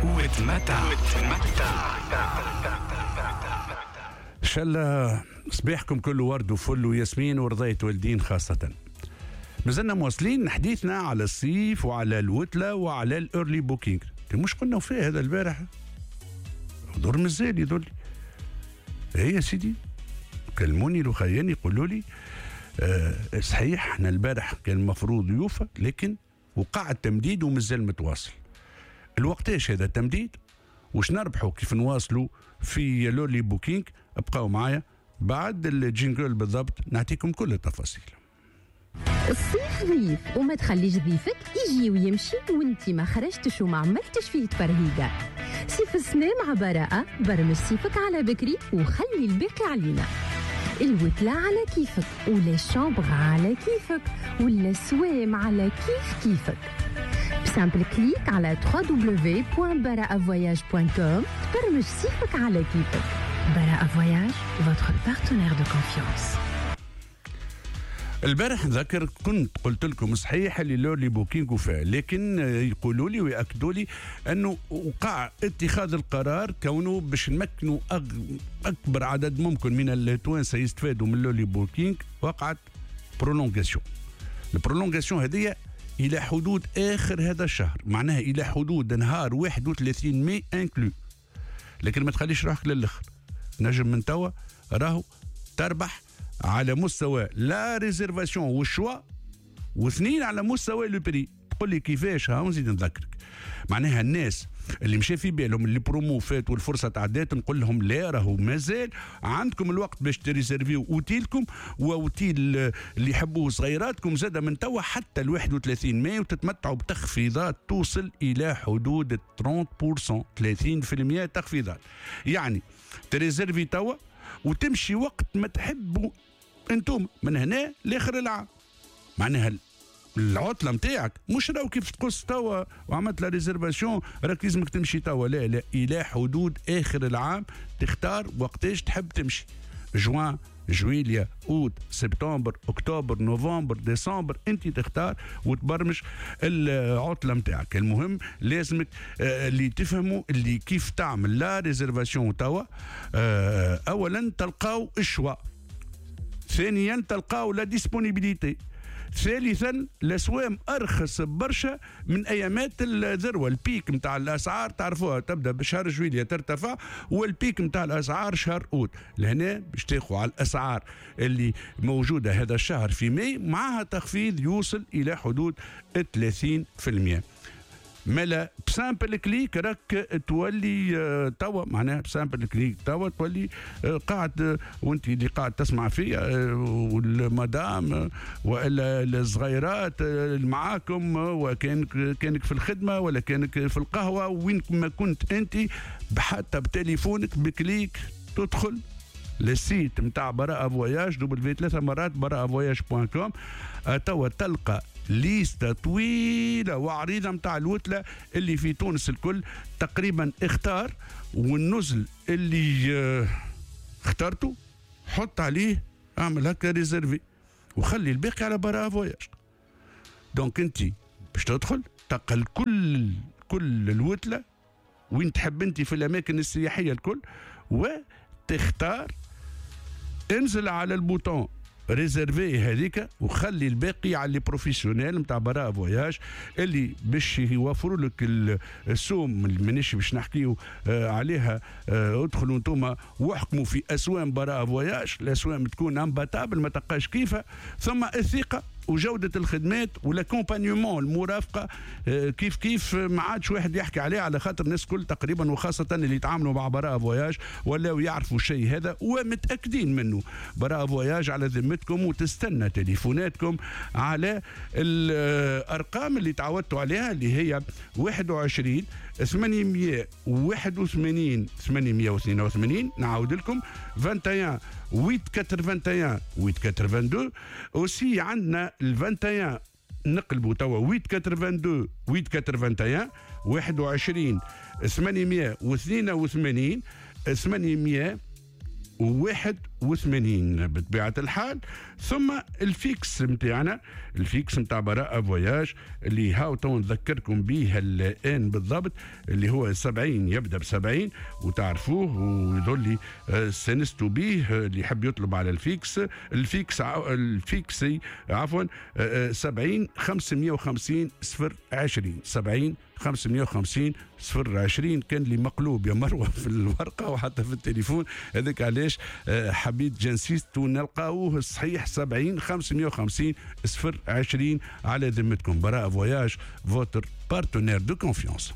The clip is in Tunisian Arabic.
وتمتع وتمتع. ان شاء الله صباحكم كله ورد وفل وياسمين ورضاية والدين خاصة. مازلنا مواصلين حديثنا على الصيف وعلى الوتلة وعلى ال early booking. مش قلنا فيه هذا البارح دور مازال يدل. ايه يا سيدي، كلموني لخياني يقولوا لي صحيح احنا البارح كان المفروض يوفى، لكن وقع التمديد ومازال متواصل. الوقتاش هذا التمديد؟ وش نربحوا كيف نواصلوا في l'early booking؟ ابقوا معايا بعد ال jingle بالضبط نعطيكم كل التفاصيل. الصيف ضيف وما تخليش ضيفك يجي ويمشي وانت ما خرجتش وما عملتش فيه تفرهيدة. صيف السنة مع براءة، برمج صيفك على بكري وخلي الباقي علينا. الوتلة على كيفك ولا ال chambre على كيفك ولا السوام على كيف كيفك. ب simple clic على www.baraavoyage.com تبرمج صيفك على كيفك. براءة Voyage، votre partenaire de confiance. البارح نذكر كنت قلت لكم صحيح اللي l'early booking وفاء، لكن يقولوا لي ويأكدوا لي انه وقع اتخاذ القرار كونه باش نمكنوا اكبر عدد ممكن من التوانسة يستفادوا من l'early booking. وقعت prolongation. ال prolongation هذه الى حدود اخر هذا الشهر، معناها الى حدود نهار 31 ماي inclus. لكن ما تخليش روحك للاخر، نجم من توا راهو تربح على مستوى la réservation وال choix، واثنين على مستوى le prix. تقول لي كيفاش؟ ها نزيد نذكرك، معناها الناس اللي مشى في بالهم اللي برومو فات والفرصة تعدات، نقول لهم لا، راهو مازال عندكم الوقت باش تريزيرفيو اوتيلكم واوتيل اللي يحبوه صغيراتكم زاد من توا حتى ال 31 ماي، وتتمتعوا بتخفيضات توصل الى حدود 30%، 30% تخفيضات. يعني تريزيرفي توا وتمشي وقت ما تحبوا انتم من هنا لاخر العام. معناها العطلة نتاعك مش راهو كيف تقص توا وعملت la réservation راك لازمك تمشي توا، لا لا، الى حدود اخر العام تختار وقتاش تحب تمشي، جوان، جويليا، اوت، سبتمبر، اكتوبر، نوفمبر، ديسمبر، انت تختار وتبرمج العطلة نتاعك. المهم لازمك اللي تفهموا اللي كيف تعمل la réservation توا، اولا تلقاو ال choix، ثانيا تلقاو la disponibilité، ثالثا الاسوام ارخص برشا من ايامات الذروة. ال pic نتاع الاسعار تعرفوها تبدا بشهر جويليا ترتفع، وال pic نتاع الاسعار شهر اوت. لهنا باش تاخذوا على الاسعار اللي موجودة هذا الشهر في ماي معها تخفيض يوصل الى حدود 30%. مالا ب simple clic راك تولي توا، معناها ب simple clic توا تولي قاعد، وانت اللي قاعد تسمع فيا والمدام والا الصغيرات اللي معاكم، وكان كانك في الخدمة ولا كانك في القهوة، وين ما كنت انت، حتى بتليفونك ب clic تدخل لل site نتاع براءة Voyage، W 3 مرات براءة Voyage point com، توا تلقى ليستة طويلة وعريضة متاع الوتلة اللي في تونس الكل تقريبا. اختار والنزل اللي اخترته حط عليه، اعمل هكا réserver وخلي الباقي على براءة Voyage. donc انت باش تدخل تلقى كل الوتلة وين تحب انت في الاماكن السياحية الكل، وتختار، انزل على ال bouton réserver هذيك وخلي الباقي على les professionnels نتاع براءة Voyage اللي باش يوفروا لك السوم. مانيش باش نحكيو عليها، ادخلوا انتم واحكموا في اسوام براءة Voyage، الاسوام تكون imbattable ما تلقاش كيفها. ثم الثقة وجودة الخدمات و l'accompagnement المرافقة، كيف كيف ما عادش واحد يحكي عليه، على خاطر الناس كل تقريبا وخاصة اللي يتعاملوا مع براءة Voyage ولاو يعرفوا الشيء هذا ومتأكدين منه. براءة Voyage على ذمتكم وتستنى تليفوناتكم على الأرقام اللي تعودتوا عليها اللي هي 21 881 882. نعاود لكم 21 881 882. aussi عندنا ال 21 نقلبوا توا 882 881 21 882 800. 81 بطبيعة الحال. ثم ال fixe نتاعنا، ال fixe نتاع براءة Voyages اللي هاو تو نذكركم به الآن بالضبط، اللي هو 70، يبدأ ب 70 وتعرفوه ويظل استانستوا به. اللي يحب يطلب على ال fixe عفوا، 70 550 020، 70 550 020. كان لي مقلوب يا مروه في الورقة وحتى في التليفون، هذاك علاش حبيت j'insiste ونلقاوه الصحيح، 70 550 020. على ذمتكم براءة Voyages، votre partenaire de confiance.